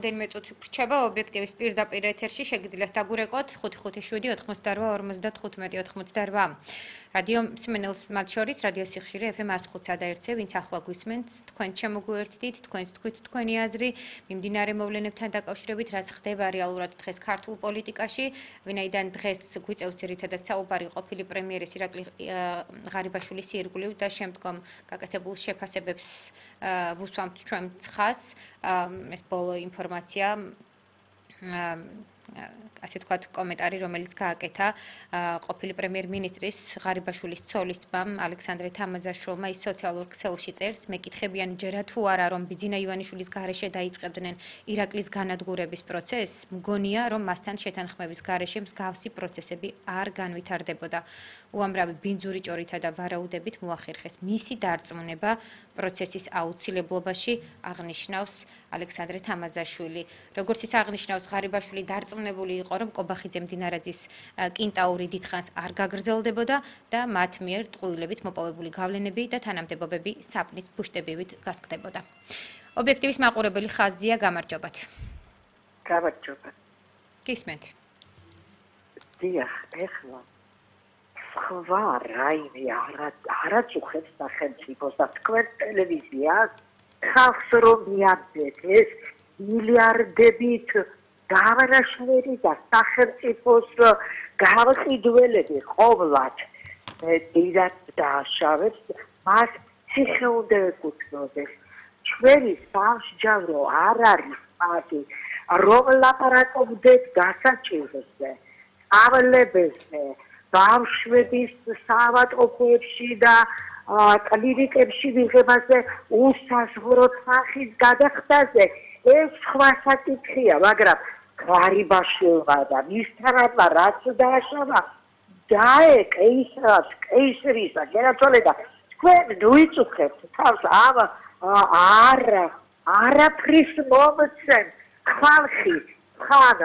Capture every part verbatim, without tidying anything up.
Დენმე წუთი გრჩება ობიექტივის პირდაპირ ეთერში შეგიძლიათ დაგურეკოთ ხუთი ხუთი შვიდი ოთხმოცდაორვა ორმოცდათხუთმეტი ოთხმოცდაორვა. რადიო მსმენელს მათ შორის რადიო სიხშირე ეფ ემ ათს ხუთსა და ერთზე, ვინც ახლა გვისმენთ, თქვენ შემოგვიერთდით, თქვენც თქვით თქვენი აზრი მიმდინარე მოვლენებთან დაკავშირებით, რაც ხდება რეალურად დღეს ქართულ პოლიტიკაში, ვინაიდან დღეს გვიწევს ძირითადად საუბარი ყოფილი პრემიერის ირაკლი ღარიბაშვილის ირგვლივ და შემდგომ გაკეთებულ შეფასებებს ვუსვამთ ჩვენ ცხას, ეს ბოლო ინფორმაცია ასე თქვათ კომენტარი რომელიც გააკეთა ყოფილი პრემიერ-მინისტრის ღარიბაშვილის ცოლის ძმამ ალექსანდრე თამაზაშვილმა ის სოციალურ ქსელში წერს მეკითხებიან ჯერა თუ არა რომ ბიძინა ივანიშვილის გარეშე დაიწყებდნენ ირაკლის განადგურების პროცესს მგონია რომ მასთან შეთანხმების გარეშე მსგავსი პროცესები არ განვითარდებოდა უამრავი ბინძური ჭორითა და ვარაუდებით მოახერხეს მისი დარწმუნება პროცესის აუცილებლობაში აღნიშნავს ალექსანდრე თამაზაშვილი როგორც ის აღნიშნავს ღარიბაშვილი დარწმუნებული იყო რომ კობახიძე მდინარაძის კინტაური დიდხანს არ გაგრძელდებოდა და მათ მიერ ტყუილებით მოპოვებული გავლენები და თანამდებობები საპნის ბუშტებივით გასკდებოდა. ობიექტივის მაყურებელი ხაზია გამარჯობათ. გამარჯობათ. გისმენთ. დიახ, ეხლა სხვა რაიმე არაწუხებს სახელმწიფოს და თქვენ ტელევიზიას ხალხს რომ მიაგდეთ ეს მილიარდებით გავარაშველი და სახელმწიფოს გავყიდველები ყოვლად დიდად დააშავებს მას ციხე უნდა ეკუთვნოდეს ჩვენი სამსჯავრო არ არის პარტი რომ ლაპარაკობდეთ გასაჭიროზე ავლებებზე ბავშვების საავადმყოფოებში და კლინიკებში ვიღებაზე უსაზღვროდ სახის გადახდაზე ეს სხვა საკითხია მაგრამ ღარიბაშვილმა და მისთანადმა რაც დააშავა დაეკეისრას კეისრისა გერაცვალე და თქვენ ვიწუხებთ თავს ამ არა არაფრის მომცემ ხალხი ხან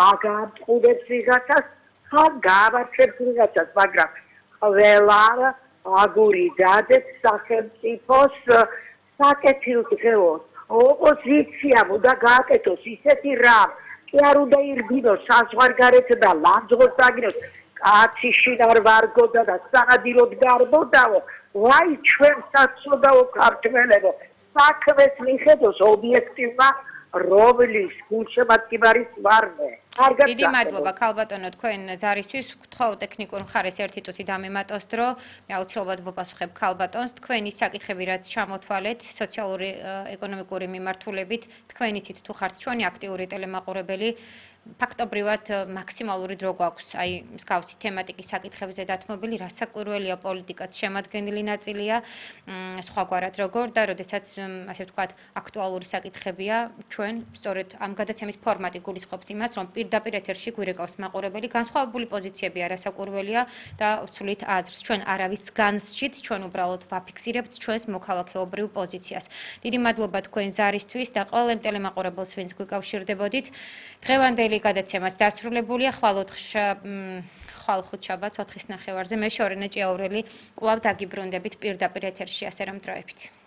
აგამწყურებს ვიღაცას ხან გავარჩევს ვიღაცას მაგრამ ყველა აგური დადეთ სახელმწიფოს საკეთილდღეოს ოპოზიციამ უნდა გააკეთოს ისეთი რამ კი არ უნდა ირბინოს საზღვარგარეთ და ლანძღოს დაგინოს კაცი შინარ ვარგოდა და სანადიროდ გარბოდაო ვაი ჩვენ საცოდაო ქართველებო საქმეს მიხედოს ობიექტივმა რომლის გულშემატკივარის ვარდე დიდი მადლობა ქალბატონო თქვენ ზარისთვის გთხოვ ტექნიკურ მხარეს ერთი წუთი დამემატოს დრო მე აუცილებლად ვუპასუხებ ქალბატონს თქვენი საკითხები რაც ჩამოთვალეთ სოციალური ეკონომიკური მიმართულებით თქვენ იცით თუ ხართ ჩვენი აქტიური ტელემაყურებელი ფაქტობრივად მაქსიმალური დრო გვაქვს აი მსგავსი თემატიკის საკითხებზე დათმობილი რასაკვირველია პოლიტიკაც შემადგენელი ნაწილია სხვაგვარად როგორ და როდესაც ასე ვთქვათ აქტუალური საკითხებია ჩვენ სწორედ ამ გადაცემის ფორმატი გულისხმობს იმას რომ პირდაპირ ეთერში გვირეკავს მაყურებელი განსხვავებული პოზიციები არასაკვირველია და ვცვლით აზრს ჩვენ არავის განსჯით ჩვენ უბრალოდ ვაფიქსირებთ ჩვენს მოქალაქეობრივ პოზიციას დიდი მადლობა თქვენ ზარისთვის და ყველა ტელემაყურებელს ვინც გვიკავშირდებოდით დღევანდელი გადაცემას დასრულებულია ხვალ ხუთშაბათს ოთხის ნახევარზე მე შორენა ჭიაურელი კვლავ დაგიბრუნდებით პირდაპირ ეთერში ასე რომ დროებით